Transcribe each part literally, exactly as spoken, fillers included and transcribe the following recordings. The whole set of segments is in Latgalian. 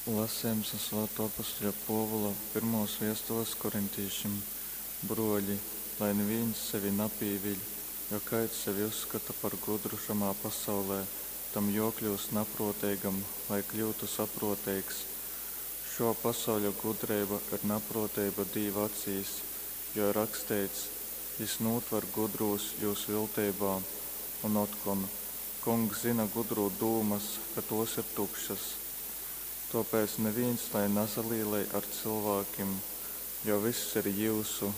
Lasejums nu Svātuo apostuļa Puovula pyrmuos viestules korintīšim. Bruoļi, lai nivīns sevi napīviļ, jo kaids sevi uzskata par gudru šamā pasaulē, tam juokļyust napruoteigam, lai kļyutu sapruoteigs. Šuo pasauļa gudreiba ir napruoteiba Dīva acīs, jo ir raksteits: Jis nūtver gudrūs jūs vilteibā. Un otkon: Kungs zyna gudrū dūmas, ka tuos ir tukšas. Tuopēc nivīns lai nasalīlej ar cylvākim, jo vyss ir jiusu,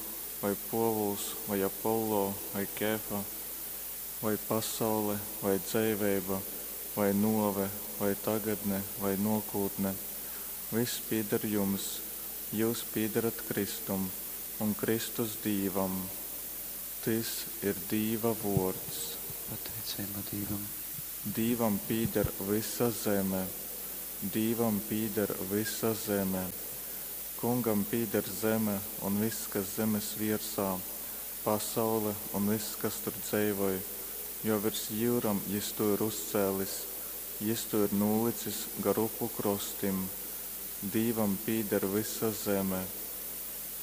voi Puovuls, voi Apollo, voi Kefa, voi pasaule, voi dzeiveiba, voi nuove, voi tagadne, voi nuokūtne. Vyss pīder jums, jius pīdarat Kristum, un Kristus Dīvam. Tys ir Dīva vuords. Pateiceiba Dīvam. Dīvam pīder vysa zeme. Dīvam pīder vysa zeme. Kungam pīder zeme un vyss, kas zemes viersā, pasaule un vyss, kas tur dzeivoj, jo virs jyurom jys tū ir uzcēlis, jys tū ir nūlicis gar upu krostim. Dīvam pīder vysa zeme.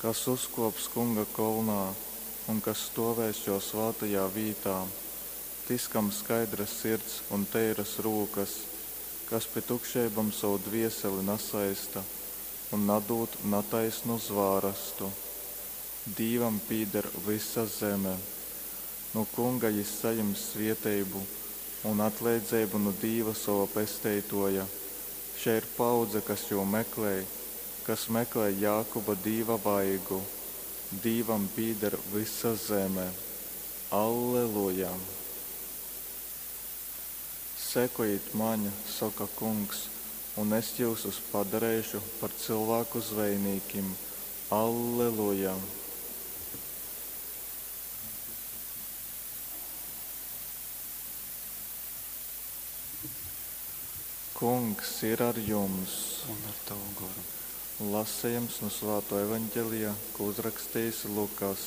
Kas uzkōps Kunga kolnā un kas stōvēs jō svātajā vītā? Tys, kam skaidra sirds un teiras rūkas, kas pi tukšeibom sovu dvieseli nasaista un nadūd nataisnu zvārastu. Dīvam pīder vysa zeme. Nu Kunga jys sajims svieteibu un atleidzeibu nu Dīva sova Pesteituoja. Šei ir paaudze, kas jū meklej, kas meklej Jākuba Dīva vaigu. Dīvam pīder vysa zeme. Alleluja! Sekojit maņ, soka Kungs, un es jyusus padareišu par cylvāku zvejnīkim. Alleluja! Kungs ir ar jums! Un ar tavu goru. Lasejums nu Svātuo Evaņgelija, ko uzrakstījis Lukass.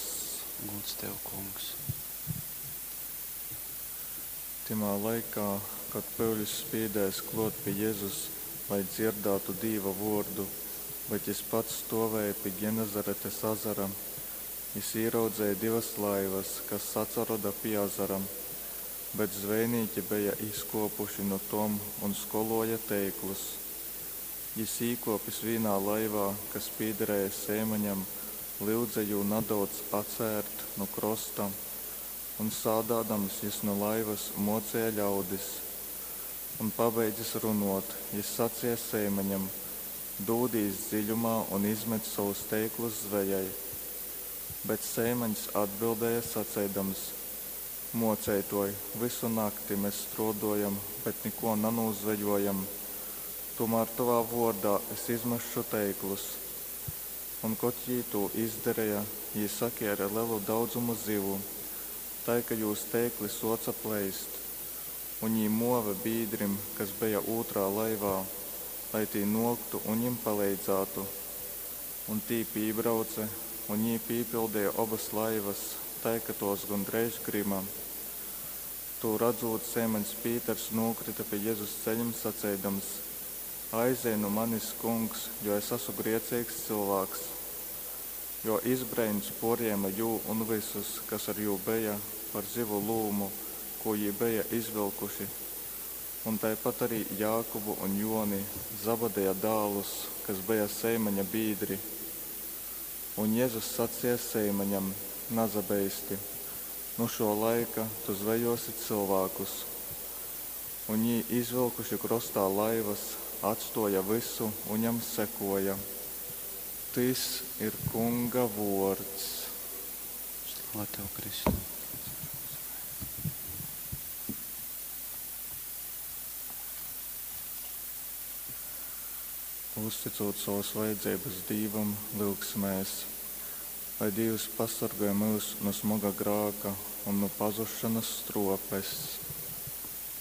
Gūds tev, Kungs. Tymā laikā, kad pyuļs spīdēs kluot pi Jezus, lai dzierdātu Dīva vuordu, bet jis pats stuovēja pi Genezaretes azara, jis īraudzeja divas laivas, kas atsaroda pi azara, bet zvejnīki beja izkuopuši nu tom un skoluoja teiklus. Jis īkuopis vīnā laivā, kas pīderēja Seimaņam, lyudze jū nadaudz atsērt nu krosta, un sādādams jis nu laivas muoceja ļaudis. Un pabeidzis runuot, jis saceja Seimaņam: Dūdīs dziļumā un izmet sovus teiklus zvejai. Bet Seimaņs atbildēja saceidams: Muoceituoj, vysu nakti mes struoduojam, bet nikuo nanūzvejuojam. Tūmār tovā vuordā es izmesšu teiklus. Un kod jī tū izdareja, jī sakēre lelu daudzumu zivu, tai ka jūs teikli suoca pleist. Un jī muove bīdrim, kas beja ūtrā laivā, lai tī nuoktu un jim paleidzātu. Un tī pībrauce, un jī pīpildeja obas laivas, tai ka tuos gondreiž gryma. Tū radzūt, Seimaņs Pīters nūkryta pi Jezus ceļim saceidams: Aizej nu manis, Kungs, jo es asu grieceigs cylvāks. Jo izbreins puorjēme jū un vysus, kas ar jū beja, par zivu lūmu, kū jī beja izvylkuši, un taipat arī Jākubu un Juoni, Zabadeja dālus, kas beja Seimaņa bīdri. Un Jezus saceja Seimaņam: Nasabeisti, nu šuo laika tu zvejuosi cylvākus. Un jī, izvylkuši krostā laivas, atstuoja vysu un jam sekuoja. Tys ir Kunga vuords. Slava tev, Kristu. Uzticūt sovas vajadzeibas Dīvam, lyugsimēs, lai Dīvs pasorgoj myus nu smoga grāka un nu pazusšonas struopes.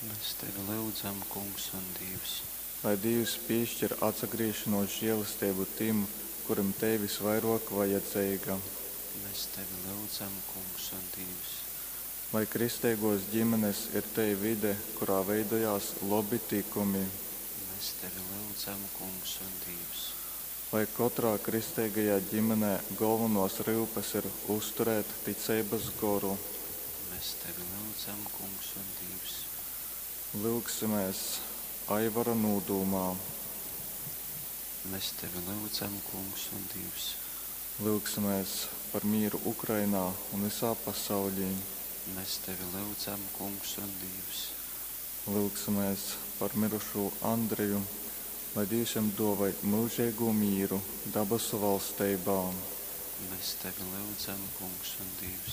Mēs tevi lyudzam, Kungs un Dīvs. Lai Dīvs pīškir atsagrīzšonuos žielesteibu tim, kurim tei vysvairuok vajadzeiga. Mēs tevi lyudzam, Kungs un Dīvs. Lai kristeiguos ģimenes ir tei vide, kurā veidojās lobi tykumi. Mēs Mēs tevi lyudzam, Kungs un Dīvs. Lai kotrā kristeigajā ģimenē golvonuos ryupes ir uzturēt ticeibys goru. Mēs tevi lyudzam, Kungs un Dīvs. Lyugsimēs Aivara nūdūmā. Mēs tevi lyudzam, Kungs un Dīvs. Lyugsimēs par mīru Ukrainā un vysā pasauļī. Mēs tevi lyudzam, Kungs un Dīvs. Lyugsimēs par mirušū Andreju, lai Dīvs jam duovoj myužeigū mīru dabasu valsteibā. Mēs tevi lyudzam, Kungs un Dīvs.